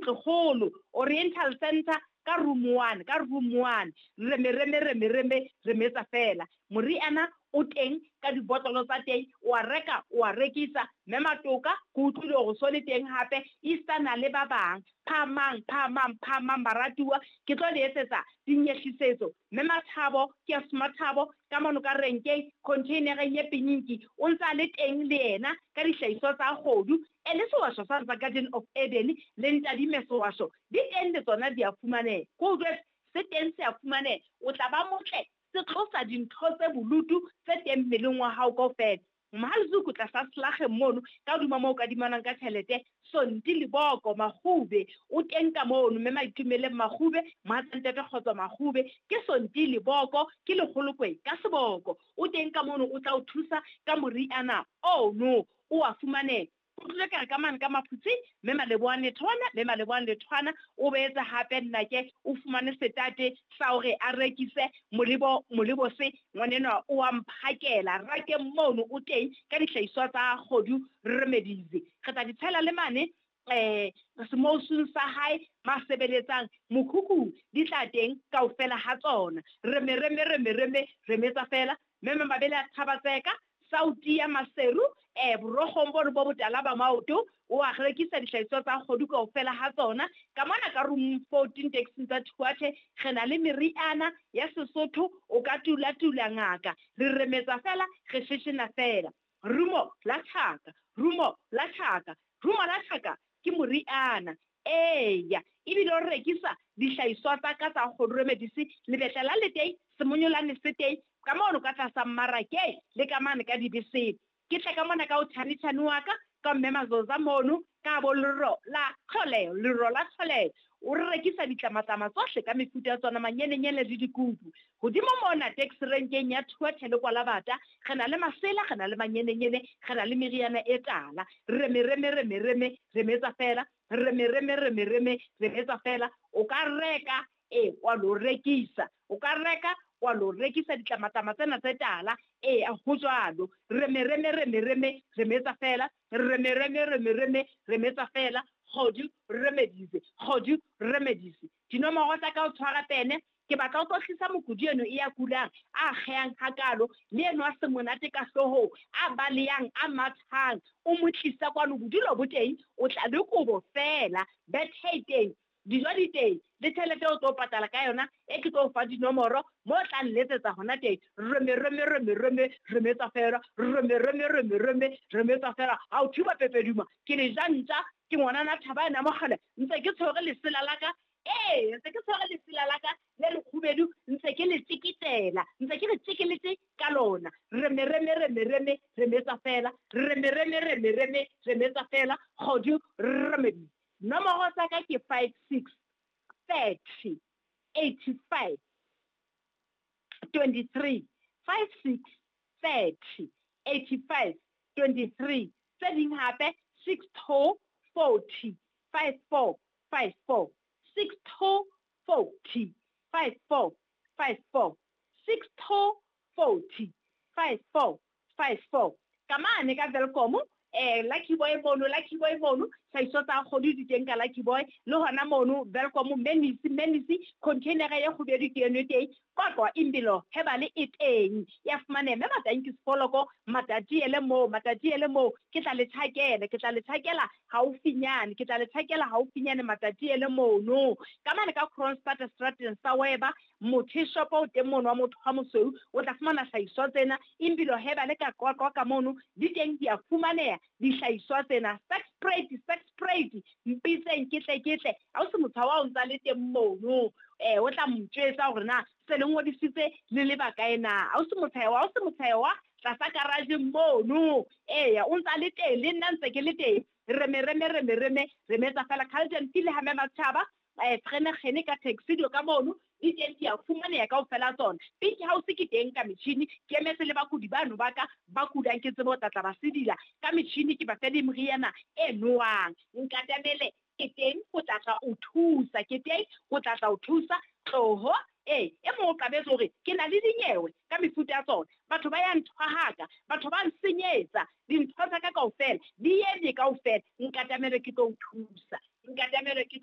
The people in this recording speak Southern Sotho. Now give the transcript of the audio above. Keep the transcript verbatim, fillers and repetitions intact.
Ntlokgolo Oriental Center ka room one, ka room one. Reme reme reme reme remetsa fela. Moriana o teng ka dibotlolo tsa teng, o a reka o a rekisa. Mme Matoka ke utlwile hore so le teng hape Easterna le ba bang. Phahamang, phahamang, phahamang baratuwa, ke tlo le etsetsa dinyehlisetso. Mme Mathabo ke Mathabo ka mono ka renkeng containereng e pinyinki o ntsa le teng le yena ka dihlahiswa tsa kgodu. E le sewasho sa tsa Garden of Eden le ntadime sewasho di teng le tsona di a fumaneha. Ko utlwe se teng se a fumaneha, o tla ba motle, se tlosa dintho tse bolutu tse teng mmeleng wa hao kaofela. Mohazuku tlasa slageng mono ka hodima moo kadimanang ka tjhelete, Sonti Leboko Makgube o teng ka mono. Mme Maitumeleng Makgube, mohatsa ntate Kgotso Makgube, ke Sonti Leboko ke lekgolokwe ka seboko o teng ka mono, o tla o thusa ka moriana ono o a fumaneha. O tlile ka re ka mane ka Maphutse, mme Malebohang Lethwana, mme Malebohang Lethwana o boetse hape nnake o fumane setate sa hore a rekise molebo molebo se ngwanenwa o a mphakela rakeng mono o teng ka dihlahiswa tsa kgodu remedies. Re tla di tshela le mane eh semousung sa hae masebeletsang mokhukhu di tla teng kaofela ha tsona. Reme reme reme reme remetsa fela. Mme Mabele a Thabatseka Sauti ya Maseru eh borokgong bono bo botala ba maoto o a rekisa dihlahiswa tsa kgodu kaofela ha tsona. Ka mona ka room fourteen taxing tsa Thuathe re na le meriana ya Sesotho, o ka tula tula ngaka, re remetsa fela, re sheshena fela. Rumo la tjhaka, rumo la tjhaka, rumo la tjhaka ke moriana. Eya, ebile o rekisa dihlahiswa tsa ka tsa kgodu remedies, lebetla la le teng, semonyolane se teng ka mono ka tlasa mmarakeng le ka mane ka dibeseng. Ke tle ka mona ka o tjhane-tjhane wa ka, ka mme Mazoza mono, ka bo lero la tlholeho, lero la tlholeho. O re rekisa ditlamatlama tsohle ka mefuta ya tsona, manyenenyene le dikupu. Hodimo mona taxi renkeng ya Thuathe le Kwalabata, re na le masela, re na le manyenenyene, re na le meriana e tala. Reme reme reme reme remetsa fela, reme reme reme reme remetsa fela. O ka reka e wa lo rekisa, o ka reka wa lo rekisa ditlamatlama tsena tse tala. E ho jwalo. Reme reme reme reme remetsa fela, reme reme reme reme remetsa fela. Kgodu remedies, kgodu remedies. Dinomoro tsa ka o tshwara pene, ke batla o tlo tlisa mokudi eno e ya kulang, a kgeyang hakalo, le eno a se monate ka hloohong, a baleyang, a mathang, o mo tlisa kwano bodulo bo teng, o tla le kobo fela, bethe e teng, dijo di teng, le tjhelete o tlo patala ka yona, e ke tlo o fa dinomoro mo tla nletsetsa hona teng. Reme reme reme reme remetsa fela, reme reme reme reme remetsa fela. Ha o thiba pepeduma, ke le ja ntja, ke ngwanana Thaba ena mogale, ntse ke tshwere lesela la ka. Ee, ntse ke tshwere lesela la ka le lekgubedu, ntse ke le tjeketela, ntse ke le tjekeletse ka lona. Reme reme reme reme remetsa fela, reme reme reme reme remetsa fela. Kgodu remedy. Nomoro tsa ka ke five six thirty eighty five twenty three, five six thirty eighty five twenty three. Tse ding hape six two forty five four five four, six two forty five four five four, six two forty five four five four. Ka mane ka Welkom, eh Lucky Boy mono, Lucky Boy mono, hlahiso tsa kgodu di teng ka Lucky Boy, le hona mono Welkom Menisi, Menisi container ya kgubedu ke eno teng, Qwaqwa Impilo Herbal e teng ya fumaneha. Mme Matanki Sefoloko Matatiele moo, Matatiele moo, ke tla le tjhakela, ke tla le tjhakela haufinyane, ke tla le tjhakela haufinyane Matatiele mono. Ka mane ka Kroonstad Strateng sa Weba, motho shop o teng mono wa motho wa mosweu, o tla fumana hlahiswa tsena. Impilo Herbal ka Qwaqwa ka mono di teng, di a fumaneha dihlahiswa tsena. Sex sprayed, sex sprayed, mpitseng ke tle ke tle. Ha o se motho wa o ntsa le teng mono, eh o tla motjwetsa hore na se le ngodisitse le le bakae na. Ha o se motho wa, ha o se motho wa tlasa garage mono, eya o ntsa le teng, le nna ntse ke le teng. Reme reme reme reme remetsa fela. Carlton File ha mme Matjhaba, eh Frenegene ka taxi dio ka mono di teng, di a fumaneha kaofela tsona. Pink House ke teng ka metjhini, ke emetse le bakudi bano ba ka ba kudang, ke tsebe ho tla tla ba sedila ka metjhini, ke ba fe le meriana e nowang. Nkatamele ke teng ho tla tla o thusa, ke teng ho tla tla o thusa. Tloho e e mong o qabetse hore ke na le dinyewe ka mefuta ya tsona. Batho ba ya nthwahaka, batho ba nsenyetsa dintho tsa ka kaofela, di eme kaofela. Nkatamele ke tlo o thusa, nkatamele ke